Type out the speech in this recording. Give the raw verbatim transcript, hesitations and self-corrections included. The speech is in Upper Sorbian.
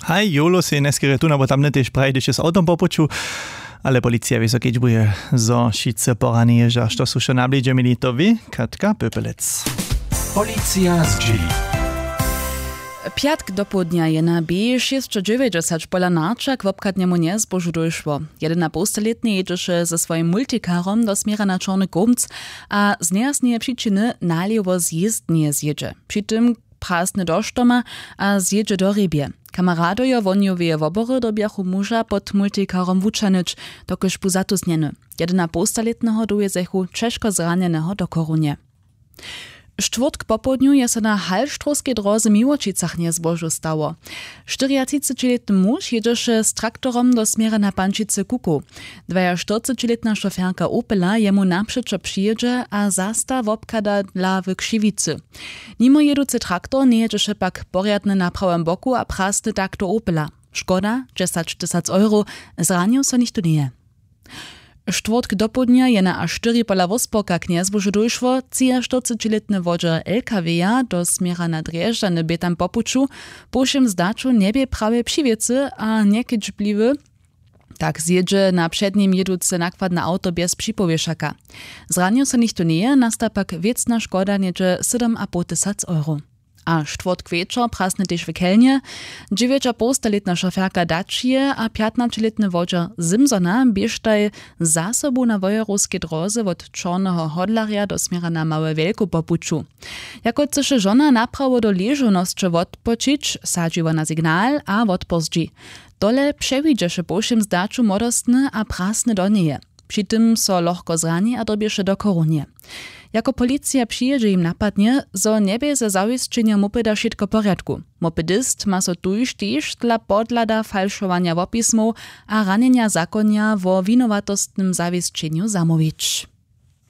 Haj, jolo sej njeskerje tu abo tamne tež praji, hdyž je z awtom po puću. Ale policija wězo kedźbuje, zo wšitcy porani ježa, što su wšo na blidźe měli, to wě Katka Pöpelec. Policija zdźěli. Pjatk dopołdnja je na B šěsćdźewjećdźesat pola Narča k wobchadnemu njezbožu dóšło. Jedenapołstalětny jědźeše ze swojim multikarom do směra na Čorny Kołmc a z nejasneje přičiny nalěwo z jězdnje zjědźe. Při tym prasny do štoma a zjědźe do hrjebje. Kameradojo wohnjoweje wobory dyrbjachu muža pod multikarom wućahnyć, dokelž bu zatusnjeny. Jedenapołstalětneho dowjezechu ćežko zranjeneho do chorunje. Štwórtk popołdnju je so na halštrowskej dróze w Miłočicach njezbožu stało. Štyriatřicećilětny muž jědźeše z traktorom do směra na pančicy kukow. Dwajaštyrcećilětna šoferka opela jemu napřećo přijědźe a zasta wobchada dla w křiwicy. Nimo jěducy traktor njejědźeše pak porjadny na prawym boku a prasny tak do opela. Škoda dźesaćtysac euro. Zranił so nichtó njeje. Štwórtk dopołdnja je na a štyri pola wósporka k njezbožu dóšło. Třiaštyrcećilětny wodźer lkw-ja do směra na drježdźany bě tam po puću. Po wšěm zdaću njebě prawje při wěcy a njekedźbliwy. Tak zjědźe na před nim jěduce nakładne awto bjez připowěšaka. Zranił so nichtó njeje, nasta pak wěcna škoda něhdźe sydomapołtysac euro. A štwórtk wječor prasny tež w chelnje. Dźewjećapołstalětna šoferka daćije a pjatnaćelětny wodźer simsona běštaj za sobu na wojerowskej dróze wot čorneho hodlarja do směra na małe wjelkow po puću. Jako chcyše žona naprawo do ležownosće wotpočić, sadźi wona signal a wotpozdźi. Tole přewidźeše po wšěm zdaću młodostny a prasny do njeje. Při tym so lochko zrani a dyrbješe do chorunje. Jako policija přijědźe, jim napadnje, zo njebě ze zawěsćenjom mopeda wšitko w porjadku. Mopedist ma so tuž tež dla podhlada falšowanja wopismow a ranjenja zakonja wo winowatostnym zawěsćenju zamołwić.